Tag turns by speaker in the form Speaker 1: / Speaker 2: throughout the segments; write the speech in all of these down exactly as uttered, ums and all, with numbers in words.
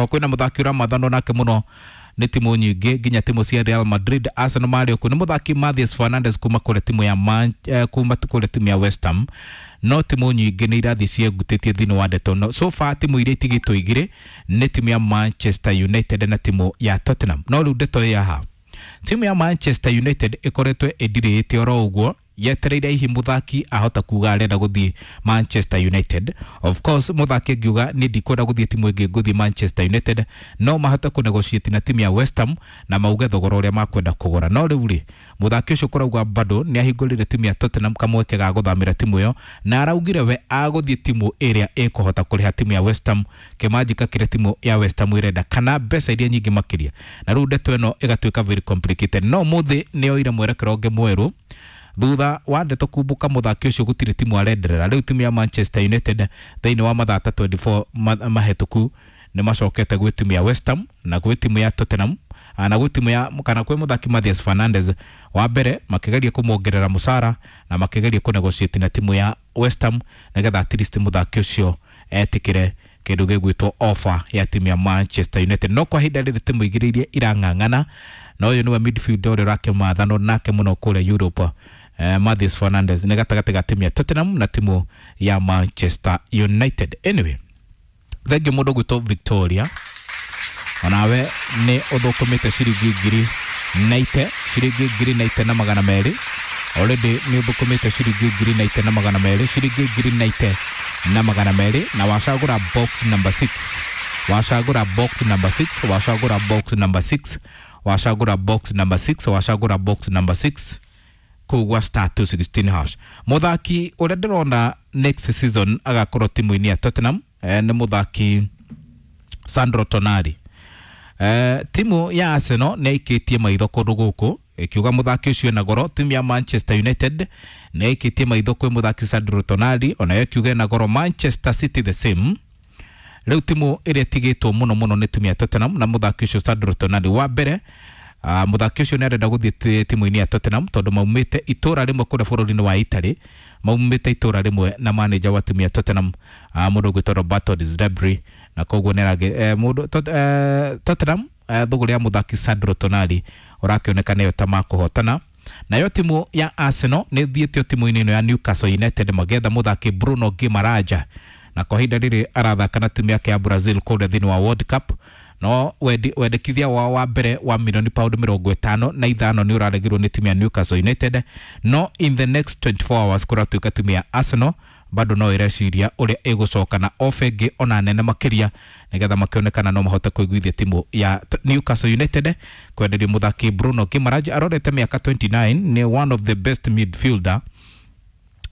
Speaker 1: Oroho kwina muthaki uramathanwo nake muno nĩ timu nyingĩ nginya timu cia Real Madrid, Arsenal marĩ okuo nĩ muthaki Mathias Fernandes kuma kũrĩa timu ya Man, eh, kuma kũrĩa timu ya West Ham. No timu nyingĩ nĩ irathiĩ ciengutĩtie thĩinĩ wa ndeto no so far timu iria itigĩtwo igĩrĩ nĩ timu ya Manchester United na timu ya Tottenham. No rĩu ndeto ĩ haha, timu ya Manchester United ĩkoretwo ĩndirĩte oro ũguo yetereire hihi muthaki ahota kuga arenda guthie Manchester United. Of course muthaki angiuga ni ndikwenda guthie timu ĩngĩ nguthie Manchester United, no mahote ku negotiate na timu ya West Ham na mauge thogora ũrĩa makwenda kũgũra. No rĩu rĩ, muthaki ũcio kũrauga bado nĩ ahingũrire timu ya Tottenham kamweke ga gũthamĩra timu ĩyo, na araugire we agũthiĩ timu ĩrĩa ĩkũhota kũrĩha timu ya West Ham kĩmanjĩka kĩrĩa timu ya West Ham ĩrenda kana mbeca iria nyingĩ makĩria. Na rĩu ndeto ĩno ĩgatuĩka very complicated. No mũthĩ nĩ oire mwerekero ũngĩ mwerũ thutha wa ndeto kumbuka muthaki ucio gutire timu arenderera. Riu timu ya Manchester United thiini wa mathaa ta twenty-four mahetuku ni macokete gwĩ timu ya West Ham na gwĩ timu ya Tottenham na gwĩ timu ya kana gwĩ muthaki Mathias Fernandes. Wa mbere makigeria kumuongerera mucara na makigeria ku negotiate na timu ya West Ham nigetha at least muthaki ucio etikire kindu gigwitwo offer ya timu ya Manchester United. No kwa ihinda rĩrĩ timu igĩrĩ iria irang'ang'ana na ũyũ nĩwe midfielder ũrĩa ũrakĩmathanwo nake mũno kũrĩa Europe, Uh, Mathias Fernandes nĩ gatagatĩ ga timu ya Tottenham na timu ya Manchester United. Anyway, thengiũ mũndũ gwĩtwo Victoria, onawe nĩ ũthũkũmĩte ciringi ngiri naite ciringi ngiri naite na magana merĩ. Already nĩ ũthũkũmĩte ciringi ngiri naite na magana merĩ ciringi ngiri naite na magana merĩ na wacagũra box number six wacagũra box number six wacagũra box number six wacagũra box number six wacagũra box number six kugwa star two sixteen hash. Muthaki uria ndirona next season agakorwo timu-inĩ ya Tottenham eh, nĩ muthaki Sandro Tonali. Eh, timu ya Arsenal nĩ ĩikĩtie maitho kũndũ gũkũ ĩkiuga muthaki ũcio ena goro. Timu ya Manchester United nĩ ĩikĩtie maitho kwĩ muthaki Sandro Tonali, onayo ĩkiuga ena goro. Manchester City the same. Rĩu timu ĩrĩa ĩtigĩtwo mũno mũno nĩ timu ya Tottenham na muthaki ũcio Sandro Tonali. Wa mbere Uh, muthaki ũcio nĩ arenda gũthiĩ timu-inĩ ya Tottenham tondũ maumĩte itũra rĩmwe kũrĩa bũrũri-inĩ wa Italy, maumĩte itũra rĩmwe na manager wa timu ya Tottenham uh, mũndũ ũgwĩtwo Roberto De Zerbi, na koguo nĩ aragĩ eh, mũndũ tot, eh, Tottenham eh, thũgũrĩ ya muthaki Sandro Tonali ũrakĩoneka nĩyo ta makũhotana. Nayo timu ya Arsenal nĩ ĩthiĩte timu-inĩ ĩno ya Newcastle United magetha muthaki Bruno Guimaraes, na kwa ihinda rĩrĩ arathaka na timu yake ya Brazil kũrĩa thĩinĩ wa World Cup. No wendekithia wao wa mbere wa milioni pound mĩrongo ĩtano na ithano nĩ ũraregirwo nĩ timu ya Newcastle United. No in the next twenty-four hours kũratuĩka timu ya Arsenal bado no ĩreciria ũrĩa ĩgũcoka na ofa ĩngĩ ona nene makĩria nĩgetha makĩonekana no mahote kũiguithia timu ya Newcastle United kwenderia mũthaki Bruno Guimaraes. Arorete mĩaka twenty-nine, nĩ one of the best midfielder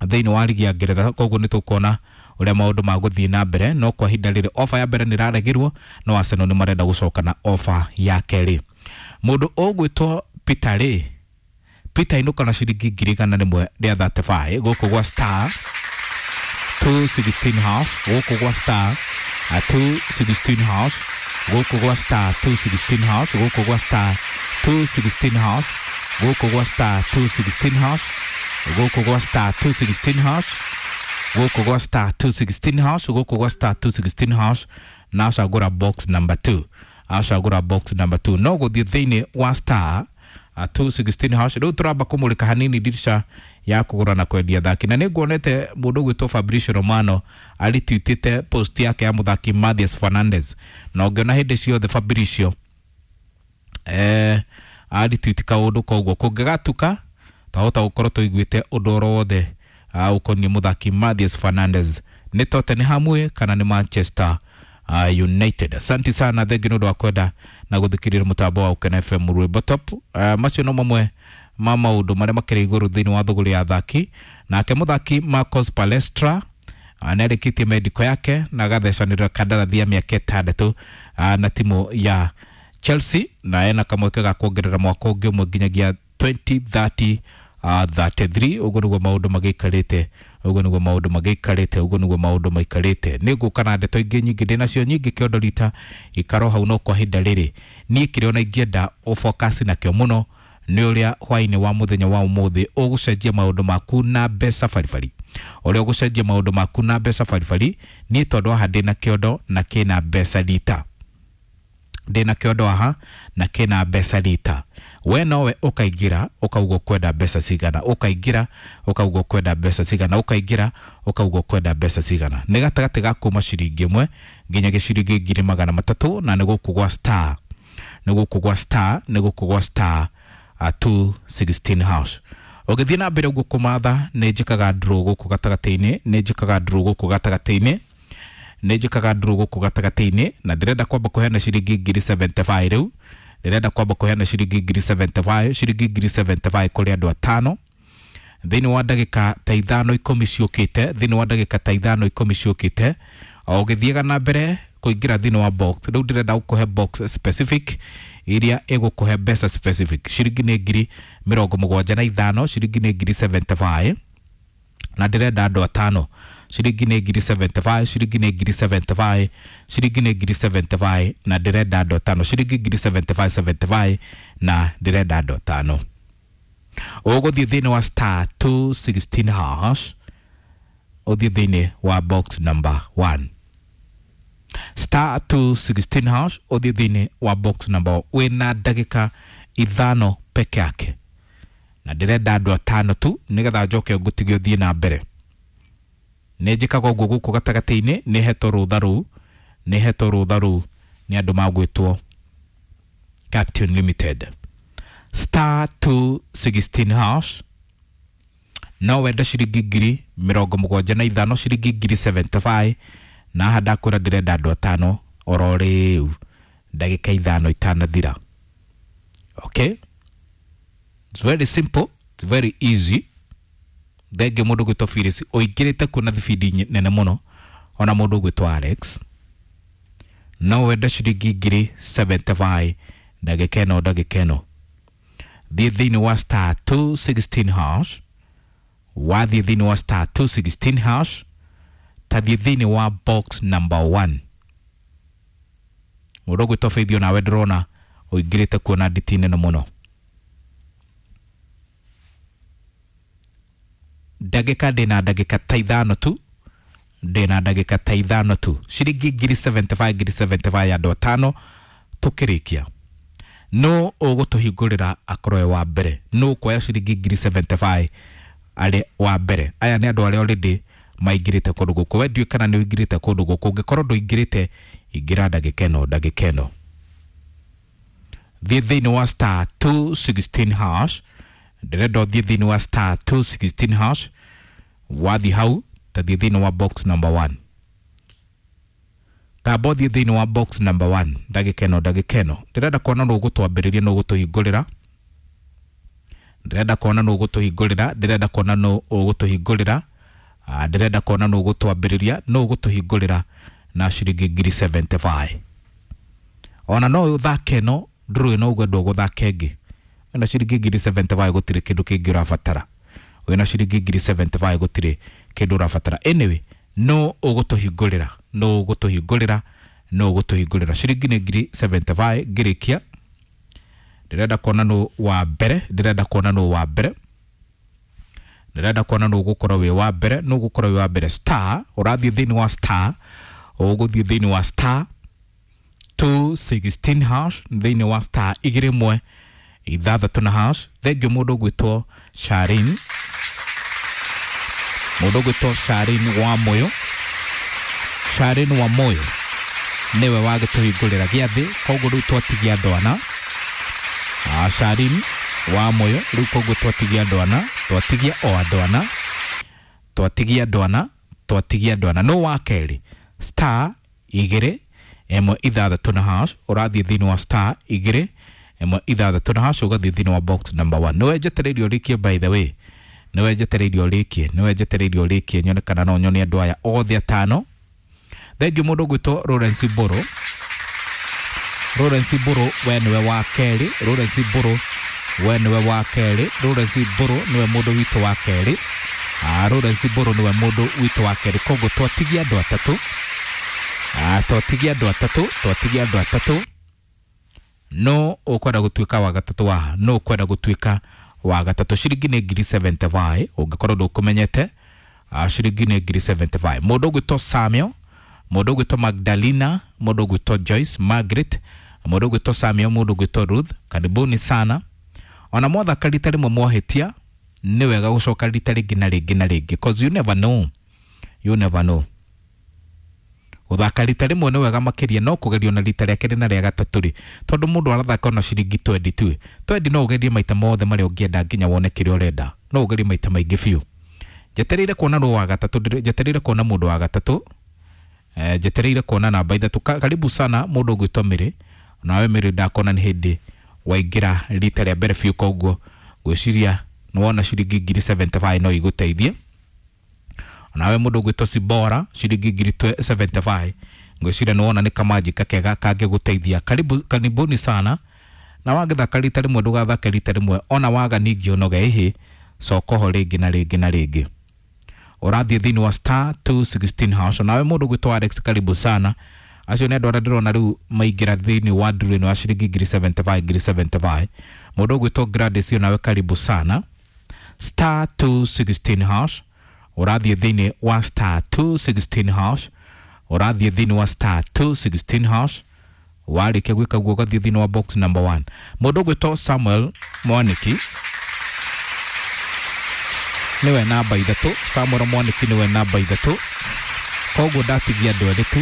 Speaker 1: thĩinĩ wa ligi ya Ngeretha, koguo nĩ tũkuona ũrĩa maũndũ magũthiĩ na mbere. No kwa ihinda rĩrĩ ofa ya mbere nĩ ĩraregirwo, no Arsenal nĩ marenda gũcoka na ofa ya kerĩ. Mũndũ ũgwĩtwo Peter rĩ, Peter inũka na ciringi ngiri igana rĩmwe rĩa thirty-five gũkũ gwa star two sixteen hash gũkũ gwa star two sixteen hash gũkũ gwa star two sixteen hash gũkũ gwa star two sixteen hash gũkũ gwa star two sixteen hash gũkũ gwa star two sixteen hash gũkũ gwa star two sixteen hash gũkũ gwa star two sixteen hash na acagũra box number two acagũra box number two. No gũthiĩ thĩinĩ wa star two sixteen hash. Rĩu tũramba kũmũrĩka hanini dirisha ya kũgũra na kwendia thaki, na nĩ nguonete mũndũ ũgwĩtwo Fabrizio Romano aritwitĩte post yake ya mũthaki Mathias Fernandes, na ũngĩona hĩndĩ ciothe Fabrizio eh aritwiti kaũndũ koguo kũngĩgatuka twahota gũkorwo tũiguĩte ũndũ oro wothe ũkoniĩ mũthaki Mathias Fernandes nĩ Tottenham kana nĩ Manchester uh, United. Asante sana thengi nĩ ũndũ wa kwenda na gũthikĩrĩria mũtambo wa Ukena F M Rwĩmbo Top. Uh, macio no mamwe ma maũndũ marĩa makĩrĩ igũrũ thĩinĩ wa thũgũrĩ ya athaki. Nake mũthaki Marcos Palestra nĩarĩkĩtie medical yake na agathecanĩra kandarathi ya mĩaka ĩtandatũ na timu ya Chelsea, na ena kamweke ga kuongerera mwaka ũngĩ ũmwe nginyagia twenty thirty thirty-three. Ũguo nĩguo maũndũ magĩikarĩte, ũguo nĩguo maũndũ magĩikarĩte, ũguo nĩguo maũndũ maikarĩte. Nĩ ngũka na ndeto ingĩ nyingĩ ndĩnacio nyingĩ kĩondo rita ikaro hau, no kwa ihinda rĩrĩ niĩ kĩrĩa ona ingĩenda ũfocus nakĩo mũno nĩ ũrĩa hwaĩ-inĩ wa mũthenya wa ũmũthĩ ũgũcenjia maũndũ maku na mbeca baribari, ũrĩa ũgũcenjia maũndũ maku na mbeca baribari. Niĩ tondũ haha ndĩna kĩondo na kĩna mbeca rita. Ndĩna kĩondo haha na kĩna mbeca rita. We nowe ũkaingĩra ũkauga ũkwenda mbeca cigana, ũkaingĩra ũkauga ũkwenda mbeca cigana, ũkaingĩra ũkauga ũkwenda mbeca cigana. Nĩ gatagatĩ ga kuma ciringi ĩmwe nginya gĩciringi ngiri magana matatũ, na nĩ gũkũ gwa star, nĩ gũkũ gwa star, nĩ gũkũ gwa star uh, two sixteen hash. Ũgĩthiĩ na mbere ũguo kũmatha, nĩ njĩkaga draw gũkũ gatagatĩ-inĩ, nĩ njĩkaga draw gũkũ gatagatĩ-inĩ, nĩ njĩkaga draw gũkũ gatagatĩ-inĩ, na ndĩrenda kwamba kũheana ciringi ngiri seventy five rĩu. Ndĩrenda kwamba kũheana ciringi ngiri seventy five, ciringi ngiri seventy five kũrĩ andũ atano thĩinĩ wa ndagĩka ta ithano ikũmi ciũkĩte, thĩinĩ wa ndagĩka ta ithano ikũmi ciũkĩte. O ũgĩthiaga na mbere kũingĩra thĩinĩ wa box, rĩu ndĩrenda gũkũhe box specific iria ĩgũkũhe mbeca specific. Ciringi nĩ ngiri mĩrongo mũgwanja na ithano, ciringi nĩ ngiri seventy five, na ndĩrenda andũ atano. Ciringi nĩ ngiri seventy five, ciringi nĩ ngiri seventy five, ciringi nĩ ngiri seventy five, na ndĩrenda andũ atano. Ciringi ngiri seventy five, seventy five, na ndĩrenda andũ atano. Ũgũthiĩ thĩinĩ wa star two sixteen hash, ũthiĩ thĩinĩ wa box number one. Star two sixteen hash, ũthiĩ thĩinĩ wa box number one. Wĩna ndagĩka ithano peke yake, na ndĩrenda andũ atano tu nĩgetha njoke ngũtige ũthiĩ na mbere. Nĩ njĩkaga ũguo gũkũ gatagatĩ-inĩ, nĩ hetwo rũtha rũu, nĩ hetwo rũtha rũu nĩ andũ magwĩtwo Captain Limited. Star two sixteen hash, no wende ciringi ngiri mĩrongo mũgwanja na ithano, ciringi ngiri seventy five, na haha ndakwĩra ndĩrenda andũ atano oro rĩu ndagĩka ithano itanathira. Okay, it's very simple, it's very easy. Thengio mũndũ ũgwĩtwo Phyllis ũingĩrĩte kuo na thibindi nene mũno, ona mũndũ ũgwĩtwo Alex. No wende ciringi ngiri seventy five ndagĩka ĩno, ndagĩka ĩno. Thiĩ thĩinĩ wa star two sixteen hash, wathiĩ thĩinĩ wa star two sixteen hash, tathiĩ thĩinĩ wa box number one. Mũndũ ũgwĩtwo Faith onawe ndĩrona ũingĩrĩte kuo na nditi nene mũno. Ndagĩka ndĩna ndagĩka ta ithano tu, ndĩna ndagĩka ta ithano tu. Ciringi ngiri seventy five, ngiri seventy five ya andũ atano tũkĩrĩkia. No ũgũtũhingũrĩra akorwo e wa mbere, no ũkuoya ciringi ngiri seventy five arĩ wa mbere. Aya nĩ andũ arĩa already maingĩrĩte kũndũ gũkũ. We ndiũĩ kana nĩ ũingĩrĩte kũndũ gũkũ. Ũngĩkorwo ndũingĩrĩte, ingĩra ndagĩka ĩno, ndagĩka ĩno. Thiĩ thĩinĩ wa star two sixteen hash, ndĩrenda ũthiĩ thĩinĩ wa star two sixteen hash, wathiĩ hau ta thiĩ thĩinĩ wa box number one. Tamba ũthiĩ thĩinĩ wa box number one ndagĩka ĩno, ndagĩka ĩno. Ndĩrenda kuona nũ ũgũtwambĩrĩria, nũ ũgũtũhingũrĩra. Ndĩrenda kuona nũ ũgũtũhingũrĩra, ndĩrenda kuona nũ ũgũtũhingũrĩra. Ah, ndĩrenda kuona nũ ũgũtwambĩrĩria, nũ ũgũtũhingũrĩra na ciringi ngiri seventy five. Ona no ũthake ĩno, ndũrĩ no ũguo ndũgũthaka ĩngĩ. Wĩna ciringi ngiri seventy five gũtirĩ kĩndũ kĩngĩ ũrabatara. Wĩna ciringi ngiri seventy five gũtirĩ kĩndũ ũrabatara. Anyway, no ũgũtũhingũrĩra, no ũgũtũhingũrĩra, no ũgũtũhingũrĩra. Ciringi nĩ ngiri seventy five ngĩrĩkia. Ndĩrenda kuona nũ wa mbere, ndĩrenda kuona nũ wa mbere. Ndĩrenda kuona nũ ũgũkorwo wĩ wa mbere, nũ ũgũkorwo wĩ wa mbere. Star, ũrathiĩ thĩinĩ wa star, ũgũthiĩ thĩinĩ wa star two sixteen hash, thĩinĩ wa star igĩrĩ ĩmwe ithathatũ na hash. Thengio mũndũ ũgwĩtwo Sharin, mũndũ ũgwĩtwo Sharin wa Moyo, Sharin wa Moyo nĩwe wagĩtũhingũrĩra gĩathĩ, koguo rĩu twatigia andũ ana. Ah, Sharin wa Moyo, rĩu koguo twatigia andũ ana, twatigia o andũ ana, twatigia andũ ana, twatigia andũ ana. No wa kerĩ, star igĩrĩ ĩmwe ithathatũ na hash, ũrathiĩ thĩinĩ wa star igĩrĩ ĩmwe ithathatũ na hash, ũgathiĩ thĩinĩ wa box number one. Nĩwe njetereire ũrĩkie, by the way, nĩwe njetereire ũrĩkie, nĩwe njetereire ũrĩkie, nyone kana no nyone andũ aya othe atano. Thengio mũndũ ũgwĩtwo Lawrence Mbũrũ, Lawrence Mbũrũ we nĩwe wa kerĩ, Lawrence Mbũrũ we nĩwe wa kerĩ, Lawrence Mbũrũ nĩwe mũndũ witũ wa kerĩ. Ah, Lawrence Mbũrũ nĩwe mũndũ witũ wa kerĩ, koguo twatigia andũ atatũ. Ah, twatigia andũ atatũ, twatigia andũ atatũ. No ũkwenda gũtuĩka wa gatatũ waha, no ũkwenda gũtuĩka wa gatatũ. Ciringi nĩ ngiri seventy five, ũngĩkorwo ndũkũmenyete. Ah, ciringi nĩ ngiri seventy five. Mũndũ ũgwĩtwo Samuel, mũndũ ũgwĩtwo Magdalena, mũndũ ũgwĩtwo Joyce, Margaret, Mũndũ ũgwĩtwo Samuel, mũndũ ũgwĩtwo Ruth, karibuni sana. Ona mwathaka rita rĩmwe mwahĩtia, nĩ wega gũcoka rita rĩngĩ na rĩngĩ na rĩngĩ, cause you never know, you never know. Gũthaka rita rĩmwe nĩ wega makĩria, no kũgerio na rita rĩa kerĩ na rĩa gatatũ rĩ, tondũ mũndũ arathaka ona ciringi twendi tu, twendi no ũgerie maita mothe marĩa ũngĩenda nginya wone kĩrĩa ũrenda. No ũgerie maita maingĩ biũ. Njetereire kuona rũ wa gatatũ, njetereire kuona mũndũ wa gatatũ, eh, njetereire kuona namba ithatũ. Karibu sana mũndũ ũgwĩtwo Mĩrĩ. Nawe Mĩrĩ, ndakona nĩ hĩndĩ waingĩra rita rĩa mbere biũ, koguo ngwĩciria nĩ wona ciringi ngiri seventy-five no igũteithie. Nawe mũndũ ũgwĩtwo Sibora, ciringi ngiri seventy-five ngwĩciria nĩ wona nĩ kamanjika kega kangĩgũteithia. Karibu, karibuni sana. Na wagĩthaka rita rĩmwe, ndũgathake rita rĩmwe, ona waga ningĩ ũnoge ĩhĩ, coka ho rĩngĩ na rĩngĩ na rĩngĩ. Ũrathiĩ thĩinĩ wa star two sixteen hash. Nawe mũndũ ũgwĩtwo Alex, karibu sana. Acio nĩ andũ arĩa ndĩrona rĩu maingĩra thĩinĩ wa nduru ĩno ya ciringi ngiri seventy-five, ngiri seventy-five. Mũndũ ũgwĩtwo Gladys, nawe karibu sana. Star two sixteen hash, ũrathiĩ thĩinĩ wa star two sixteen hash, ũrathiĩ thĩinĩ wa star two sixteen hash. Warĩkia gwĩka guo, ũgathiĩ thĩinĩ wa box number one. Mũndũ ũgwĩtwo Samuel Mwaniki nĩwe namba ithatũ. Samuel Mwaniki nĩwe namba ithatũ. Koguo ndatigia andũ erĩ tu,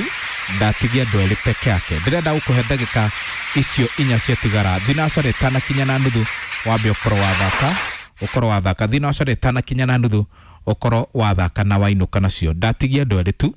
Speaker 1: ndatigia andũ erĩ peke yake. Ndĩrenda gũkũhe ndagĩka icio inya ciatigara, thinacara ĩtanakinya na nuthu, wambe ũkorwo wathaka, ũkorwo wathaka thinacara ĩtanakinya na nuthu, ũkorwo wathaka na wainũka nacio. Ndatigia andũ erĩ tu.